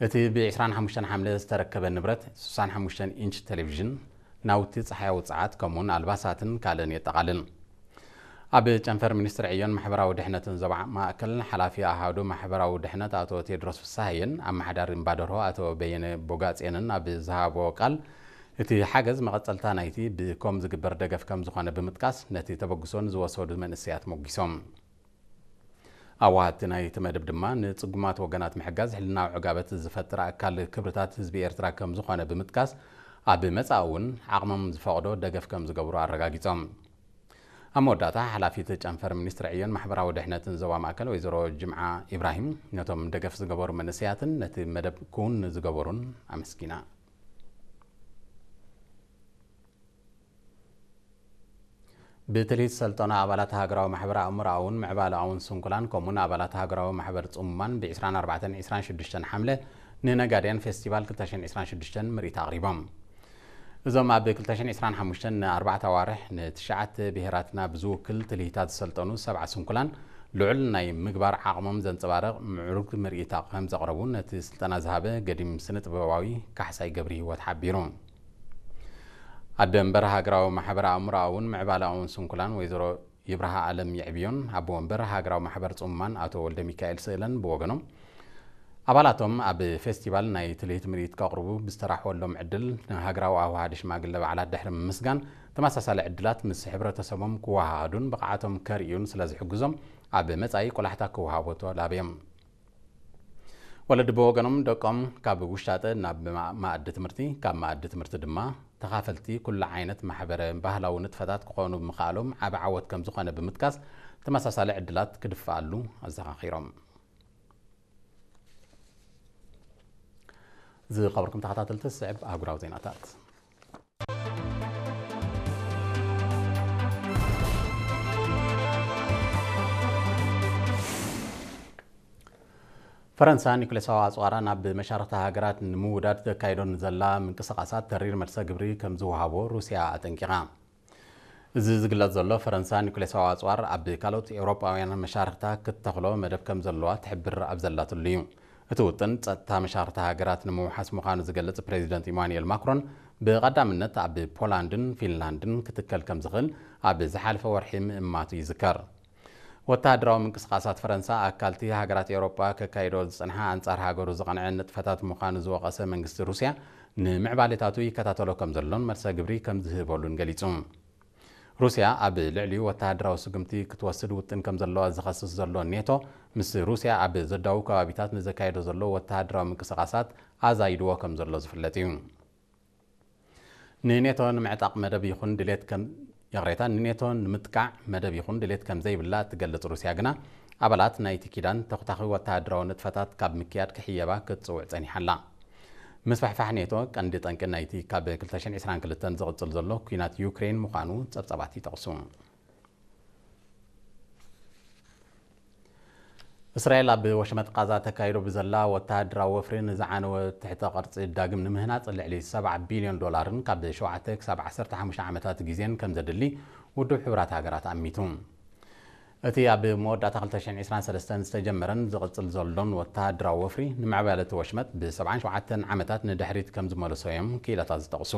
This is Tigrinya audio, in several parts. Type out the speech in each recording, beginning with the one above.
እቲ ብ ዕስራን ሓሙሽተን ሓምለ ዝተረከበ ንብረት ስሳን ሓሙሽተን ኢንች ቴሌቪዥን፣ ናውቲ ጸሓያዊ ጸዓት፣ ከምኡውን ኣልባሳትን ካልእን የጠቓልል። ኣብ ጨንፈር ሚኒስትሪ ዕዮን ማሕበራዊ ድሕነትን ዞባ ማእከል ሓላፊ ኣሃዱ ማሕበራዊ ድሕነት ኣቶ ቴድሮስ ፍስሃየን ኣመሓዳሪ እምባደርሆ ኣቶ በየነ ቦጋጼንን ኣብ ዝሃቦ ቃል፣ እቲ ሓገዝ መቐጸልታ ናይቲ ብኮም ዝግበር ደገፍ ከም ዝኾነ ብምጥቃስ፣ ነቲ ተበግሶ ንዝወሰዱ መንእሰያት ሞጊሶም። ኣዋሃድቲ ናይቲ መደብ ድማ፣ ንጽጉማት ወገናት ምሕጋዝ ሕልናዊ ዕጋበት ዝፈጥር ኣካል ክብርታት ህዝቢ ኤርትራ ከም ዝኾነ ብምጥቃስ፣ ኣብ መጻኢ እውን ዓቕሞም ዝፈቕዶ ደገፍ ከም ዝገብሩ ኣረጋጊጾም። ኣብ መወዳእታ፣ ሓላፊት ጨንፈር ሚኒስትሪ ዕዮን ማሕበራዊ ድሕነትን ዞባ ማእከል ወይዘሮ ጅምዓ ኢብራሂም፣ ነቶም ደገፍ ዝገበሩ መንእሰያትን ነቲ መደብ ክውን ዝገበሩን ኣመስጊና። ብትልሂት ሰልጠና ኣባላት ሃገራዊ ማሕበር ኣእምሮኣውን ምዕባለኣውን ስንኩላን፣ ከምኡን ኣባላት ሃገራዊ ማሕበር ጽሙማን ብ ዕስራን ኣርባዕተን ዕስራን ሽዱሽተን ሓምለ ንነጋድያን ፌስቲቫል ክልተ ሽሕን ዕስራን ሽዱሽተን ምርኢት ኣቕሪቦም። እዞም ኣብ ክልተ ሽሕን ዕስራን ሓሙሽተን ንኣርባዕተ ኣዋርሕ ንትሽዓተ ብሄራትና ብዝውክል ትልሂታት ዝሰልጠኑ ሰብዓ ስንኩላን፣ ልዑል ናይ ምግባር ዓቕሞም ዘንጸባርቕ ምዕሩግ ምርኢት ከም ዘቕረቡ ነቲ ስልጠና ዝሃበ ገዲም ስነ ጥበባዊ ካሕሳይ ገብረ ህይወት ሓቢሩ። ኣደ መንበር ሃገራዊ ማሕበር ኣእምሮኣውን ምዕባለኣውን ስንኩላን ወይዘሮ ይብርሃ ኣለም የዕብዮን ኣቦ መንበር ሃገራዊ ማሕበር ጽሙማን ኣቶ ወልደ ሚካኤል ስእለን ብወገኖም፣ ኣባላቶም ኣብ ፌስቲቫል ናይ ትልሂት ምርኢት ከቕርቡ ብዝተራሕወሎም ዕድል፣ ንሃገራዊ ኣዋሃዲ ሽማግለ በዓላት ድሕሪ ምምስጋን፣ ተመሳሳሊ ዕድላት ምስ ሕብረተሰቦም ክወሃሃዱን ብቕዓቶም ከርእዩን ስለ ዝሕግዞም፣ ኣብ መጻኢ ቆላሕታ ክወሃቦ ተላብዮም። ወለዲ ብወገኖም፣ ደቆም ካብ ውሻጠ ናብ ማ-፣ መኣዲ ትምህርቲ፣ ካብ መኣዲ ትምህርቲ ድማ ተኻፈልቲ ኩሉ ዓይነት ማሕበረ ባህላዊ ንጥፈታት ክኾኑ ብምኽኣሎም ዓቢ ዓወት ከም ዝኾነ ብምጥቃስ፣ ተመሳሳሊ ዕድላት ክድፍኣሉ ኣዘኻኺሮም። ዝኸበርኩም ተኸታተልቲ፣ ዝስዕብ ኣህጉራዊ ዜናታት። ፈረንሳ ኒኩሌሳዊ ኣጽዋራ ናብ መሻርኽቲ ሃገራት ንምውዳድ ተካይዶ ንዘላ ምንቅስቓሳት ተሪር መልሰ ግብሪ ከም ዝወሃቦ ሩስያ ኣጠንቂቓ። እዚ ዝግለጽ ዘሎ፣ ፈረንሳ ኒኩሌሳዊ ኣጽዋር ኣብ ካልኦት ኤውሮጳውያን መሻርኽታ ክትተኽሎ መደብ ከም ዘለዋ ትሕብር ኣብ ዘላትሉ እዩ። እቲ ውጥን፣ ጸጥታ መሻርኽቲ ሃገራት ንምውሓስ ምዃኑ ዝገልጽ ፕሬዚደንት ኢማኑኤል ማክሮን፣ ብቐዳምነት ኣብ ፖላንድን ፊንላንድን ክትከል ከም ዝኽእል ኣብ ዝሓለፈ ወርሒ ምእማቱ ይዝከር። ወተሃደራዊ ምንቅስቓሳት ፈረንሳ፣ ኣካልቲ ሃገራት ኤውሮጳ ከካይዶ ዝጸንሓ ኣንጻር ሃገሩ ዝቐንዐ ንጥፈታት ምዃኑ ዝወቐሰ መንግስቲ ሩስያ፣ ንምዕባሌታቱ ይከታተሎ ከም ዘሎን መልሰ ግብሪ ከም ዝህበሉን ገሊጹ። ሩስያ ኣብ ልዕሊኡ ወተሃደራዊ ስጉምቲ ክትወስድ ውጥን ከም ዘለዋ ዝኸስስ ዘሎ ኔቶ፣ ምስ ሩስያ ኣብ ዘዳውብ ከባቢታት ንዘካየዶ ዘሎ ወተሃደራዊ ምንቅስቓሳት ኣዛይድዎ ከም ዘሎ ዝፍለጥ እዩ። ንኔቶ ንምዕጣቕ መደብ ይኹን ድሌት ከም፣ ይቕሬታ፣ ንኔቶ ንምጥቃዕ መደብ ይኹን ድሌት ከም ዘይብላ እትገልጽ ሩስያ ግና፣ ኣባላት ናይቲ ኪዳን ተኹታኺ ወተሃደራዊ ንጥፈታት ካብ ምክያድ ክሕየባ ክትጽውዕ ጸኒሓ ኣላ። ምስፍሕፋሕ ኔቶ ቀንዲ ጠንቂ ናይቲ ካብ ክልተ ሽሕን ዕስራን ክልተን ዝቕጽል ዘሎ ኲናት ዩክሬን ምዃኑ ጸብጻባት ይጠቕሱ። እስራኤል ኣብ ወሽመጥ ቃዛ ተካይዶ ብዘላ ወተሃደራዊ ወፍሪ ንዝዓነወ ትሕተ ቅርጺ ዳግም ንምህናጽ ልዕሊ ሰብዓ ቢልዮን ዶላርን ካብ ሸውዓተ ክሳብ ዓሰርተ ሓሙሽተ ዓመታት ግዜን ከም ዘድሊ ውድብ ሕቡራት ሃገራት ኣሚቱ። እቲ ኣብ መወዳእታ ክልተ ሽሕን ዕስራን ሰለስተን ዝተጀመረን ዝቕጽል ዘሎን ወተሃደራዊ ወፍሪ፣ ንምዕባለ እቲ ወሽመጥ ብ ሰብዓን ሸውዓተን ዓመታት ንድሕሪት ከም ዝመልሶ እዮም ክኢላታት ዝጠቕሱ።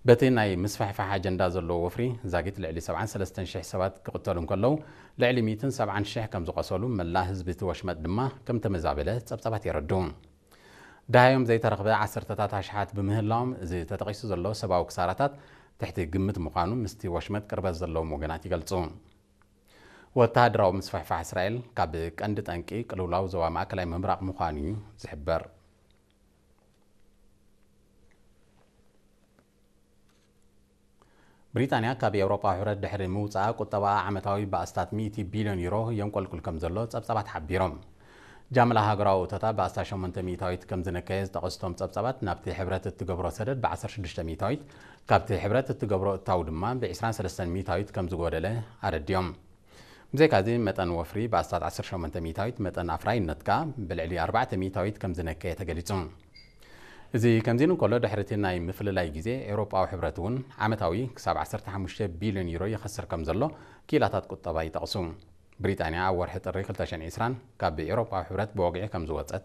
በቲ ናይ ምስፍሕፋሕ ኣጀንዳ ዘለዎ ወፍሪ፣ ዛጊት ልዕሊ ሰብዓን ሰለስተን ሽሕ ሰባት ክቕተሉ እንከለዉ፣ ልዕሊ ሚእትን ሰብዓን ሽሕ ከም ዝቖሰሉ፣ መላእ ህዝቢ እቲ ወሽመጥ ድማ ከም ተመዛበለ ጸብጻባት የረድኡ። ደሃዮም ዘይተረኽበ ዓሰርተታት ኣሽሓት ብምህላዎም፣ እዚ ተጠቒሱ ዘሎ ሰብኣዊ ክሳራታት ትሕቲ ግምት ምዃኑ ምስቲ ወሽመጥ ቅርበት ዘለዎም ወገናት ይገልጹ። ወተሃደራዊ ምስፍሕፋሕ እስራኤል ካብ ቀንዲ ጠንቂ ቅልውላው ዞባ ማእከላይ ምብራቕ ምዃኑ እዩ ዝሕበር። ብሪጣንያ ካብ ኤውሮጳ ሕብረት ድሕሪ ምውጻኣ፣ ቁጠባኣ ዓመታዊ ብኣስታት ሚእቲ ቢልዮን ዩሮ የንቆልቁል ከም ዘሎ ጸብጻባት ሓቢሮም። ጃምላ ሃገራዊ እቶታ ብኣስታት ሸሞንተ ሚእታዊት ከም ዝነከየ ዝጠቐሱ እቶም ጸብጻባት፣ ናብቲ ሕብረት እትገብሮ ሰደድ ብ ዓሰርተ ሽዱሽተ ሚእታዊት፣ ካብቲ ሕብረት እትገብሮ እታው ድማ ብ ዕስራን ሰለስተን ሚእታዊት ከም ዝጎደለ ኣረዲኦም። ብዘይካዚ፣ መጠን ወፍሪ ብኣስታት ዓሰርተ ሸሞንተ ሚእታዊት፣ መጠን ኣፍራይነት ከኣ ብልዕሊ ኣርባዕተ ሚእታዊት ከም ዝነከየ ተገሊጹ። እዚ ከምዚ ኢሉ እንከሎ፣ ድሕሪ እቲ ናይ ምፍልላይ ግዜ፣ ኤውሮጳዊ ሕብረት እውን ዓመታዊ ክሳብ ዓሰርተ ሓሙሽተ ቢልዮን ዩሮ ይኸስር ከም ዘሎ ክኢላታት ቁጠባ ይጠቕሱ። ብሪጣንያ ኣብ ወርሒ ጥሪ ክልተ ሽሕን ዕስራን ካብ ኤውሮጳዊ ሕብረት ብወግዒ ከም ዝወጸት